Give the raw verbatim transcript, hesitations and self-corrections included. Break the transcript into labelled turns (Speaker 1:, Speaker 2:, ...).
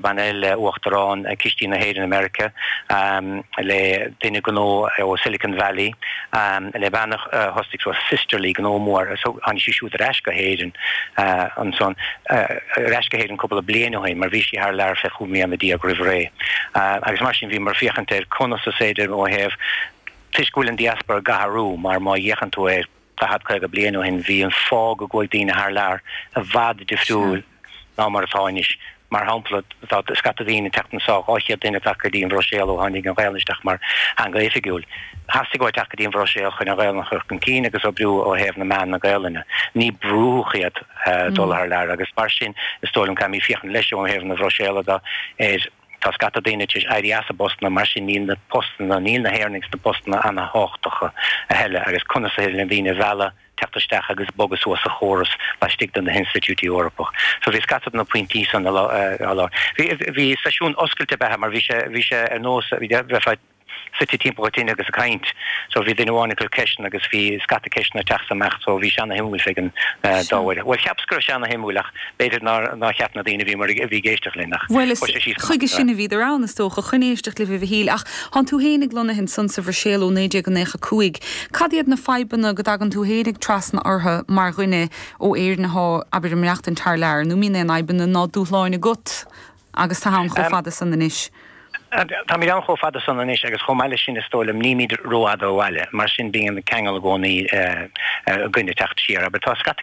Speaker 1: Bean eile, uachtarán Cistí na hÉireann i Meiriceá, um, le duine gnó ó Silicon Valley, um, le bean uh, thosaigh so Sisterly gnó mór, so tháinig sí siúd ar ais go hÉirinn uh, ansan uh, ar ais go hÉirinn cúpla bliain ó shin, mar bhí sí thar lear fe chúig bliana déag roimh ré. Uh, agus mar sin bhí mar féachaint ar conas is féidir ó thaobh toisc go bhfuil an diaspora ag athrú, mar má fhéachann tú ar daichead caoga bliain ó shin, bhí an fáth go gcuaigh daoine thar lear i bhfad difriúil ná mar atá anois. Mar shampla, tá scata daoine teacht anseo, dhá chéad duine teacht go dtí an Bhruiséil ó tháinig an Ghaelainn isteach mar theanga oifigiúil. Theastaigh uathu teacht go dtí an Bhruiséil chun an Ghaelainn a chur chun cinn agus oibriú ó thaobh na meán na Gaelainne. Ní brúdh iad dul thar lear agus mar sin is dóigh liom caithfimid féachaint leis ó thaobh na Bruiséile de ar tá scata daoine tar éis éirí as a bpostanna, mar sin níl na postanna, níl na hÉireannaigh sna postanna an-thábhachtacha a thuilleadh agus conas is féidir le daoine a mhealladh teacht isteach agus bogadh suas sa chóras laistigh de na hinstitiúidí Eorpach. So bhí scata de na pointí san á lua. Bhí bhí seisiún oscailte beatha mar bhí sé bhí sé ar nós bhí bheifeá suite timpeall an tine agus ag caint. So bhí duine amháin ag cur ceisteanna agus bhí scata ceisteanna ag teacht amach so bhí sé ana-shuimiúil fé an dá bharr. Bhuel cheapas go raibh sé ana-shuimiúil ach b'fhéidir nár nár cheap na daoine a bhí mar a bhí ag éisteacht linn ach
Speaker 2: Bhuel is
Speaker 1: chuir sé síos
Speaker 2: chuige sin a bhíodar ann is dócha chun éisteacht libh a Mhichíl, ach thánn tú fhéinig lonnaithe ansan sa Bhruiséil ó naoi déag nócha cúig. Cad iad na fadhbanna go dtagann tú fhéinig trasna orthu mar dhuine ó Éirinn atá abair ag maireachtaint thar lear, nó mbíonn aon fhadhbanna ná dúshláin agat agus tú ann chomh fada san anois?
Speaker 1: Táimid ann chomh fada san anois agus chomh maith leis sin is dóigh liom nílimid rófhada ó bhaile, mar sin bíonn an ceangal i gcónaí againne teacht siar, aber tá scata